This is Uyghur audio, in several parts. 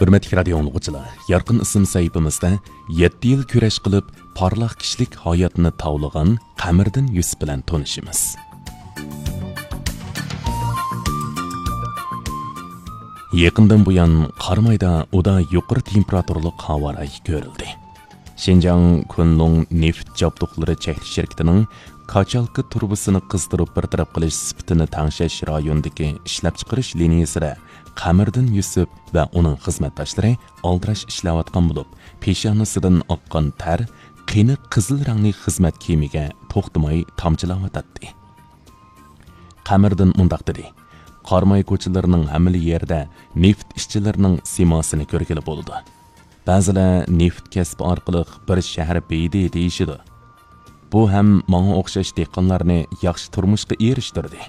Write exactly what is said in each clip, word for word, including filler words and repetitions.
ھۆرمەتلىك رادىيو ئاڭلىغۇچىلار، يارقىن ئىسىم سەھىپىمىزدە يەتتە يىل كۈرەش قىلىپ، پارلاق كىشىلىك ھاياتىنى تاۋلىغان قەمەردىن يۈسۈپ بىلەن تونۇشىمىز. يېقىندىن بۇيان قارامايدا ئۇدا يۇقىرى تېمپېراتۇرىلىق ھاۋا رايى كۆرۈلدى. شىنجاڭ كۇنلۇڭ نېفىت جابدۇقلىرى چەكلىك شىركىتىنىڭ كاچالكا تۇرۇبىسىنى قىزدۇرۇپ بىر تەرەپ قىلىش سۈپىتىنى تەڭشەش رايونىدىكى ئىشلەپچىقىرىش لىنىيەسىدە قەمەردىن يۈسۈپ ۋە ئۇنىڭ خىزمەتداشلىرى ئالدىراش ئىشلەۋاتقان بولۇپ، پېشانىسىدىن ئاققان تەر قېنىق قىزىل رەڭلىك خىزمەت كىيىمىگە توختىماي تامچىلاۋاتاتتى. قەمەردىن مۇنداق دېدى: «قاراماي كوچىلىرىنىڭ ھەممىلا يېرىدە نېفىت ئىشچىلىرىنىڭ سىيماسىنى كۆرگىلى بولىدۇ. بەزىلەر نېفىت كەسپى ئارقىلىق بىر شەھەر بېيىدى دېيىشىدۇ. بۇ ھەم ماڭا ئوخشاش دېھقانلارنى ياخشى تۇرمۇشقا ئېرىشتۈردى.»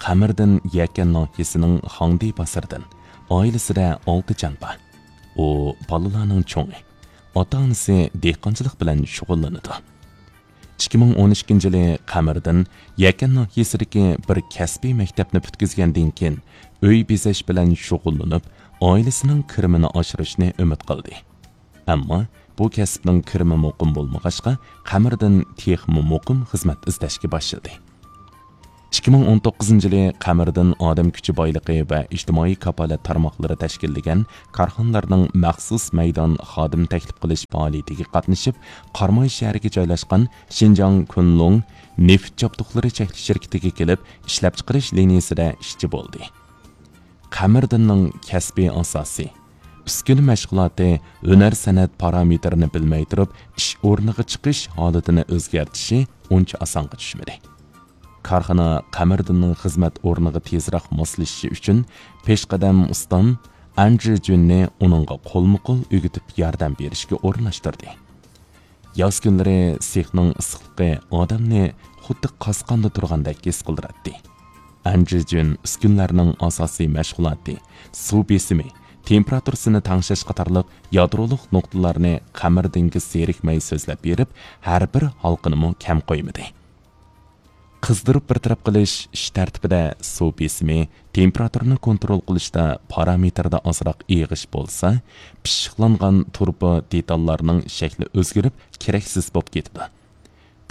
قەمەردىن يەكەن ناھىيەسىنىڭ خاڭدى بازىرىدىن، ئائىلىسىدە ئالتە جان بار. ئۇ بالىلارنىڭ چوڭى، ئاتا-ئانىسى دېھقانچىلىق بىلەن شۇغۇللىنىدۇ. ئىككى مىڭ ئون ئىككىنچى يىلى قەمەردىن يەكەن ناھىيەسىدىكى بىر كەسپىي مەكتەپنى پۈتكۈزگەندىن كېيىن، ئۆي بېزەش بىلەن شۇغۇللىنىپ، ئائىلىسىنىڭ كىرىمىنى ئاشۇرۇشنى ئۈمىد قىلدى. ئەمما بۇ كەسىپنىڭ كىرىمى مۇقىم بولمىغاچقا، قەمەردىن تېخىمۇ مۇقىم خىزمەت ئىزدەشكە باشلىدى. ئىككى مىڭ ئون توققۇزىنچى يىلى قەمەردىن ئادەم كۈچى بايلىقى ۋە ئىجتىمائىي كاپالەت تارماقلىرى تەشكىللىگەن كارخانىلارنىڭ مەخسۇس مەيدان خادىم تەكلىپ قىلىش پائالىيىتىگە قاتنىشىپ، قاراماي شەھىرىگە جايلاشقان شىنجاڭ كۇنلۇڭ نېفىت جابدۇقلىرى چەكلىك شىركىتىگە كېلىپ، ئىشلەپچىقىرىش لىنىيەسىدە ئىشچى بولدى. قەمەردىننىڭ كەسپىي ئاساسى، ئۈسكۈنە مەشغۇلاتى، ھۈنەر سەنئەت پارامېتىرىنى بىلمەي تۇرۇپ، ئىش ئورنىغا چىقىش ھالىتىنى ئۆزگەرتىشى ئۇنچە ئاسانغا چۈشمىدى. كارخانا قەمەردىننىڭ خىزمەت ئورنىغا تېزراق ماسلىشىشى ئۈچۈن پېشقەدەم ئۇستام ئەنجى جۈننى ئۇنىڭغا قولمۇ قول ئۆگىتىپ ياردەم بېرىشكە ئورۇنلاشتۇردى. ياز كۈنلىرى سېخنىڭ ئىسسىقلىقى ئادەمنى خۇددى قاسقاندا تۇرغاندەك ھېس قىلدۇراتتى. ئەنجى جۈن ئۈسكۈنىلەرنىڭ ئاساسىي مەشغۇلاتى، سۇ بېسىمى، تېمپېراتۇرىسىنى تەڭشەش قاتارلىق يادرولۇق نۇقتىلارنى قەمەردىنگە زېرىكمەي سۆزلەپ بېرىپ، ھەر بىر ھالقىنىمۇ كەم قويمىدى. قىزدۇرۇپ بىر تەرەپ قىلىش ئىش تەرتىپىدە سۇ بېسىمى، تېمپېراتۇرىنى كونترول قىلىشتا پارامېتىردا ئازراق ئېغىش بولسا، پىششىقلانغان تۇرۇبا دېتاللارنىڭ شەكلى ئۆزگىرىپ، كېرەكسىز بولۇپ كېتىدۇ.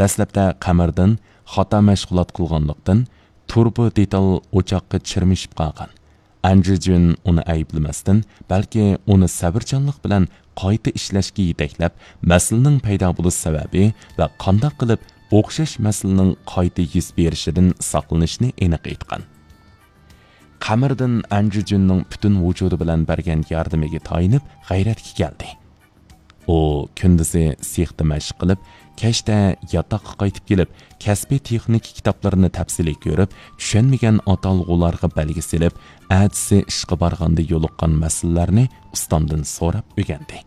دەسلەپتە قەمەردىن خاتا مەشغۇلات قىلغانلىقتىن، تۇرۇبا دېتال ئوچاققا چىرمىشىپ قالغان. ئەنجى جۈن ئۇنى ئەيىبلىمەستىن، بەلكى ئۇنى سەۋرچانلىق بىلەن قايتا ئىشلەشكە يېتەكلەپ، مەسىلىنىڭ پەيدا بولۇش سەۋەبى ۋە قانداق قىلىپ ئوخشاش مەسىلىنىڭ قايتا يۈز بېرىشىدىن ساقلىنىشنى ئېنىق ئېيتقان. قەمەردىن ئەنجى جۈننىڭ پۈتۈن ۋۇجۇدى بىلەن بەرگەن ياردىمىگە تايىنىپ غەيرەتكە كەلدى. ئۇ كۈندۈزى سېختا مەشىق قىلىپ، كەچتە ياتاققا قايتىپ كېلىپ، كەسپىي تېخنىكا كىتابلىرىنى تەپسىلىي كۆرۈپ، چۈشەنمىگەن ئاتالغۇلارغا بەلگە سېلىپ، ئەتىسى ئىشقا بارغاندا يولۇققان مەسىلىلەرنى ئۇستامدىن سوراپ ئۆگەندى.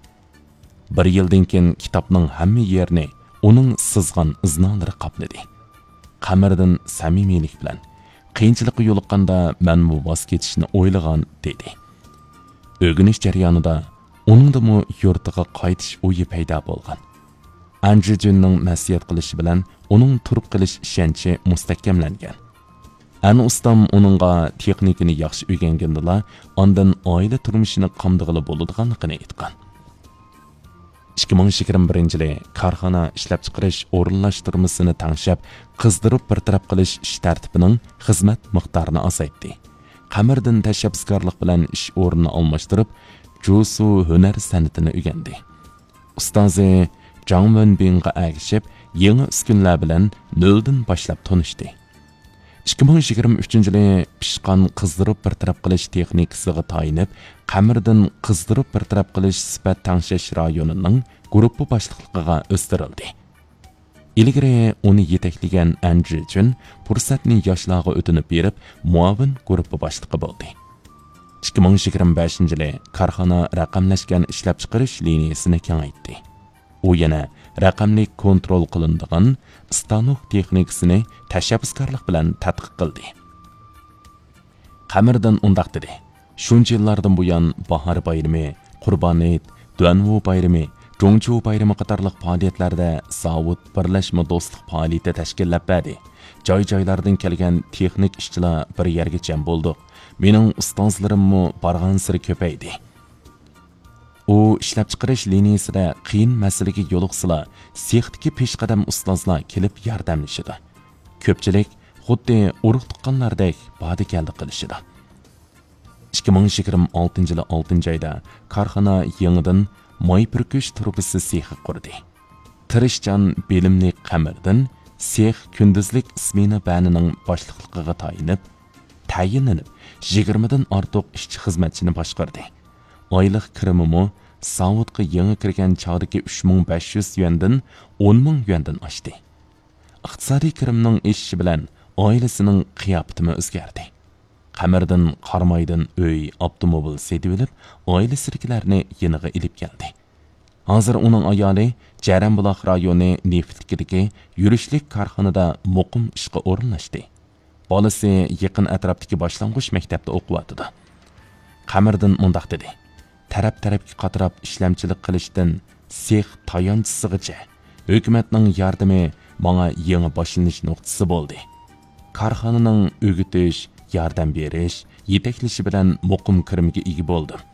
بىر يىلدىن كېيىن كىتابنىڭ ھەممە يېرىنى ئۇنىڭ سىزغان ئىزنالىرى قاپلىدى. قەمەردىن سەمىمىيلىك بىلەن، «قىيىنچىلىققا يولۇققاندا مەنمۇ ۋاز كېچىشنى ئويلىغان» دېدى. ئۆگىنىش جەريانىدا ئۇنىڭدىمۇ يۇرتىغا قايتىش ئويى پەيدا بولغان. ئەنجى جۈننىڭ نەسىھەت قىلىشى بىلەن ئۇنىڭ تۇرۇپ قېلىش ئىشەنچى مۇستەھكەملەنگەن. ئەنە ئۇستام ئۇنىڭغا تېخنىكىنى ياخشى ئۆگەنگىنىدىلا، ئاندىن ئائىلە تۇرمۇشىنى قامدىغىلى بولىدىغانلىقىنى ئېيتقان. ئىككى مىڭ يىگىرمە بىرىنچى يىلى كارخانا ئىشلەپچىقىرىش ئورۇنلاشتۇرمىسىنى تەڭشەپ، قىزدۇرۇپ بىر تەرەپ قىلىش ئىش تەرتىپىنىڭ خىزمەت مىقدارىنى ئازايتتى. قەمەردىن تەشەببۇسكارلىق بىلەن ئىش ئورنىنى ئالماشتۇرۇپ، جۇسۇ ھۈنەر سەنئىتىنى ئۆگەندى. ئۇستازى جاڭ ۋېنبىڭغا ئەگىشىپ، يېڭى ئۈسكۈنىلەر بىلەن نۆلدىن باشلاپ تونۇشتى. ئىككى مىڭ يىگىرمە ئۈچىنچى يىلى پىشقان قىزدۇرۇپ بىر تەرەپ قىلىش تېخنىكىسىغا تايىنىپ، قەمەردىن قىزدۇرۇپ بىر تەرەپ قىلىش سۈپەت تەڭشەش رايونىنىڭ گۇرۇپپا باشلىقلىقىغا ئۆستۈرۈلدى. ئىلگىرى ئۇنى يېتەكلىگەن ئەنجى جۈن پۇرسەتنى ياشلارغا ئۆتۈنۈپ بېرىپ، مۇئاۋىن گۇرۇپپا باشلىقى بولدى. ئىككى مىڭ يىگىرمە بەشىنچى يىلى كارخانا رەقەملەشكەن ئىشلەپچىقىرىش لىنىيەسىنى كېڭەيتتى. ئۇ يەنە رەقەملىك كونترول قىلىنىدىغان ئىستانوك تېخنىكىسىنى تەشەببۇسكارلىق بىلەن تەتقىق قىلدى. قەمەردىن ئۇنداق دېدى: «شۇنچە يىللاردىن بۇيان باھار بايرىمى، قۇربان ھېيت، دۇەنۋۇ بايرىمى، جۇڭچۇ بايرىمى قاتارلىق پائالىيەتلەردە زاۋۇت بىرلەشمە دوستلۇق پائالىيىتى تەشكىللەپ بەردى. جاي-جايلاردىن كەلگەن تېخنىك ئىشچىلار بىر يەرگە جەم بولدۇق. مېنىڭ ئۇستازلىرىممۇ بارغانسېرى كۆپەيدى.» ئۇ ئىشلەپچىقىرىش لىنىيىسىدە قىيىن مەسىلىگە يولۇقسىلا، سېختىكى پېشقەدەم ئۇستازلار كېلىپ ياردەملىشىدۇ. كۆپچىلىك خۇددى ئۇرۇق-تۇغقانلاردەك باردا-كەلدە قىلىشىدۇ. ئىككى مىڭ يىگىرمە ئالتىنچى يىلى ئالتىنچى ئايدا كارخانا يېڭىدىن ماي پۈركۈش تۇرۇبىسى سېخى قۇردى. تىرىشچان، بىلىملىك قەمەردىن سېخ كۈندۈزلۈك سمېنا بەنىنىڭ باشلىقلىقىغا تايىنىپ، تەيىنلىنىپ، يىگىرمىدىن ئارتۇق ئىشچى-خىزمەتچىنى باشقاردى. ئايلىق كىرىمىمۇ زاۋۇتقا يېڭى كىرگەن چاغدىكى ئۈچ مىڭ بەش يۈز يۈەندىن ئون مىڭ يۈەندىن ئاشتى. ئىقتىسادىي كىرىمنىڭ ئېشىشى بىلەن ئائىلىسىنىڭ قىياپىتىمۇ ئۆزگەردى. قەمەردىن قارامايدىن ئۆي، ئاپتوموبىل سېتىۋېلىپ، ئائىلىسىدىكىلەرنى يېنىغا ئېلىپ كەلدى. ھازىر ئۇنىڭ ئايالى جەرەنبۇلاق رايونى نېفىتلىكىدىكى يۈرۈشلۈك كارخانىدا مۇقىم ئىشقا ئورۇنلاشتى. بالىسى يېقىن ئەتراپتىكى باشلانغۇچ مەكتەپتە ئوقۇۋاتىدۇ. قەمەردىن مۇنداق دېدى: «تەرەپ-تەرەپكە قاتراپ ئىشلەمچىلىك قىلىشتىن سېخ تايانچىسىغىچە، ھۆكۈمەتنىڭ ياردىمى ماڭا يېڭى باشلىنىش نۇقتىسى بولدى. كارخانىنىڭ ئۆگىتىش، ياردەم بېرىش، يېتەكلىشى بىلەن مۇقىم كىرىمگە ئىگە بولدۇم.»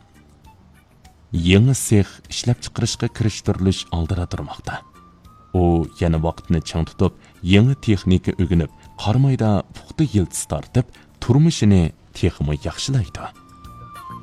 يېڭى سېخ ئىشلەپچىقىرىشقا كىرىشتۈرۈلۈش ئالدىدا تۇرماقتا. ئۇ يەنە ۋاقىتنى چىڭ تۇتۇپ، يېڭى تېخنىكا ئۆگىنىپ، قارامايدا پۇختا يىلتىز تارتىپ، تۇرمۇشىنى تېخىمۇ ياخشىلايدۇ.